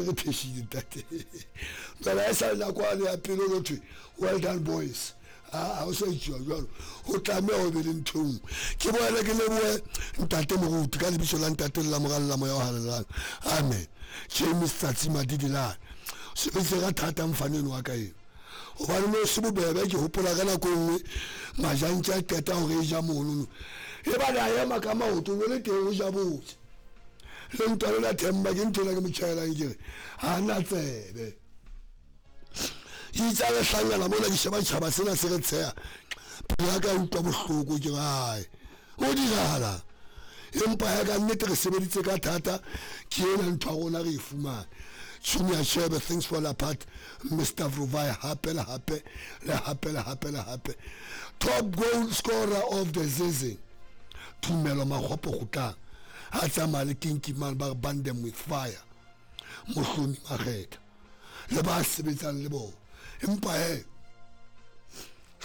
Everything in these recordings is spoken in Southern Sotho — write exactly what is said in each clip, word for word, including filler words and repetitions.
Re pheshile ntate. Jwale ha e sa le nako yane ya pele ho thwe well done boys. Ha o sa etsuwa jwalo, ho tlameha ho be le ntho e nngwe. Ke boele ke lebohe ntate moruti ka lebitso la ntate le la Mora le la Moya o Halalelang. Amen. James Tsatsi Madidilan. Sebeditse ka thata mfana eno wa ka eno. Hobane no se bobebe, ke hopola ka nako e nngwe majantja a qeta hore e ja monono. E ba le a ema ka maoto, o le teng o ja botse. Le ntwa le la Themba ke ntho ena ke mo tjhaelang ke re ha na tsebe. Itse ha re hlangana mona ke sheba tjhaba sena se re tsheha. Pelo ya ka e utlwa bohloko ke re hai ho dirahalang. Empa ya ka nnete re sebeditse ka thata, ke ena ntho ya rona re e fumane. Junior Shebe, things fall apart. Mister Vruvai hape le hape le hape le hape le hape. Top goal scorer of the season Tumelo Makgopo Kgutlang ha tsamaya le Kinky Man ba re burn them with fire. Mohlomi Makgetha le ba sebetsang le bona. Empa he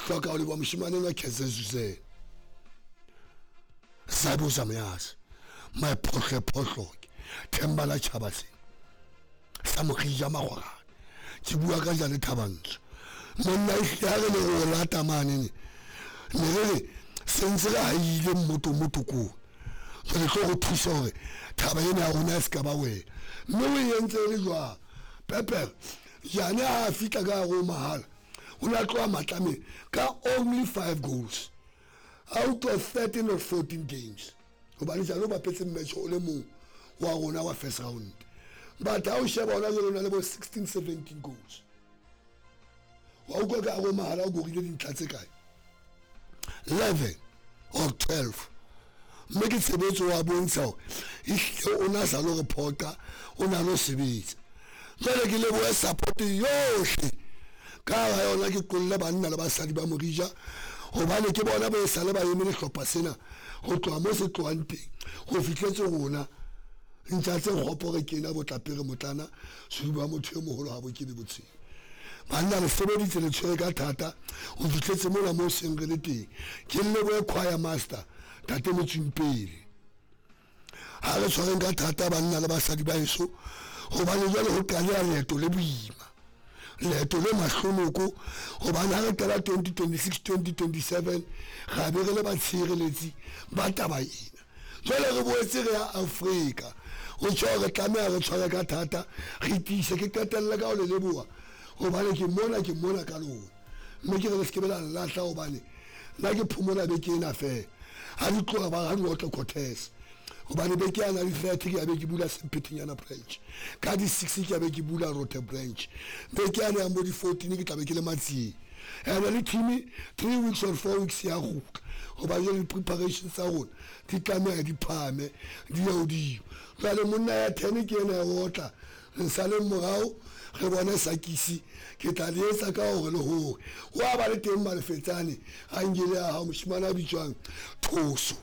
hloka ho leboha moshemane enwa Keze Zuzela. Sabo Zamyas, my phohle phohloke, Themba la tjhaba sena sa Morija Magwarane. Ke bua ka jale Thabantsho. Monna ehlile ha re ne re o lata mane ne, ne re re se ntse re haile mmoto mmoto koo. Jwale tlo go thusa hore thaba ena ya rona e se ka ba wena. Mme o e entse e le jwang? Pepe, jane ha a fihla ka hare ho mahala, o ne a tloha Matlameng ka only five goals out of thirteen or fourteen games. Hobane jane o bapetse match o le mong wa rona wa first round. But ha o sheba hona jwale o na le bo sixteen, seventeen goals. Wa utlwa ka hare ho mahala o korile dintlha tse kae? eleven or twelve. Mme ke tshebetso wa bontsha hore ehlile o na sa lo re phoqa, o na lo sebetsa. Jwale ke lebohe support yohle ka hara yona, ke qolle banna le basadi ba Morija, hobane ke bona ba esale ba eme lehlopha sena ho tloha mo se tlohang teng ho fihletse rona. Ntja tse kgopo re kena botlapere motlana seduba motho e moholo ha bo kebe botshelo. Banna le sebeditse le tshwere ka thata ho fihletse mona mo seng re le teng. Ke lebohe choir master Tate Motswimpele. Ha re tshwareng ka thata banna le basadi ba heso, hobane jwale ho qaleha leeto le boima, leeto le mahlonoko, hobane ha re qala twenty twenty-six, twenty twenty-seven ra be re le batshireletsi ba taba ena. Jwale re boetse re ya Afrika, ho tjho re tlameha re tshware ka thata, re tiise. Ke qetelle ka ho le leboha hobane ke mona, ke mona ka lona, mme ke re le se ke be la nlahla hobane nna ke phomola beke ena feela. Ha di tloha ba ha di otle Cortez, hobane beke ya na di thirty ke ya be ke bula Sempetenyana branch, ka di six ke ya be ke bula Rote branch, beke ya ya mo di fourteen ke tla be ke le Matsieng. Ene le team three weeks or four weeks ya kgutla, hoba jwale di-preparations tsa rona di tlameha di phahame di ye hodimo. Jwale monna ya ten ke ena ya otla, re saleng morao re bone sakisi. Ke tla le etsa ka hore le hore wa ba le teng Malefetsane a nkile ya hao moshemane a bitswang Thoso.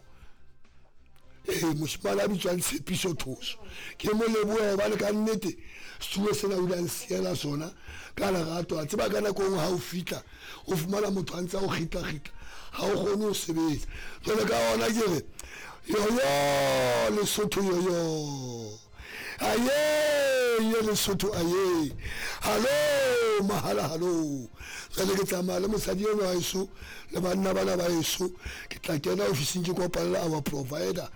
Ee, moshemane a bitswang Tshepiso Thoso. Ke mo lebohe hobane ka nnete setulo sena o ile a nsiela sona ka lerato. A tseba ka nako e nngwe ha o fihla o fumana motho a ntse a o kgitla-kgitla, ha o kgone ho sebetsa. Jwale ka ona ke re yoyo Lesotho yoyo, aye ye Lesotho aye, hallo mahala hallo. Jwale ke tsamaya le mosadi enwa wa heso le banna bana ba heso, ke tla kena ofising ke kopane le our provider,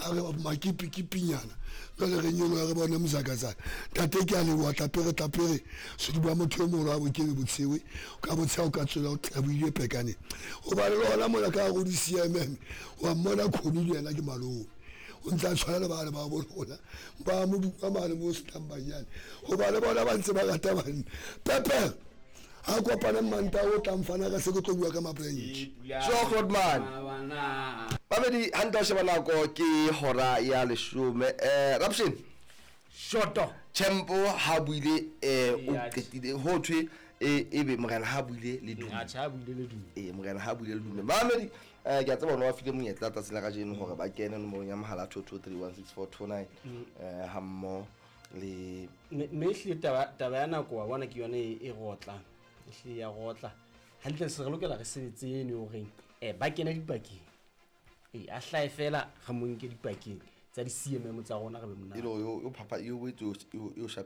a re makipikipinyana. Jwale re nyoloha re bone mozakazaka. Ntate ke a leboha, tlapere tlapere seduba motho e moholo ha bo kebe botshewe, ka botsheha o ka tswela o tlabohile pekane. Hobane le hona mona ka hare ho di-C M M wa mmona Khoni le yena ke malome, o ntse a tshwana le bana ba bo rona ba mo duma mane mo senang banyane, hobane bona ba ntse ba rata banna. Pepe ha kopane Mantaha o tlang fana ka se ke tlo bua ka ma-branch. So Grootman, babedi hantle ho sheba nako ke hora ya leshome. Eh, Rapshin Shoto Champo ha buile, eh, o qetile ho thwe e ebe morena ha buile le dume. Atjha, ha buile le dume. Eh, morena ha buile le dume. Mamedi, eh, ke a tseba hore wa file monyetla tsatsing la kajeno hore ba kene nomorong ya mohala two two three one six four two nine, Mm. eh, ha mmoho le Mme, mme ehlile taba, taba ya nako wa bona ke yone e, e rotlang. Ehlile ya rotla. Hantle se re lokela re sebetse eno horeng, eh, ba kene dipakeng. Eh, a hlahe fela re mo nke dipakeng tsa di-C M M tsa rona re be monate. E le hore yo, yo phapa, yo boetse yo, yo, yo shapa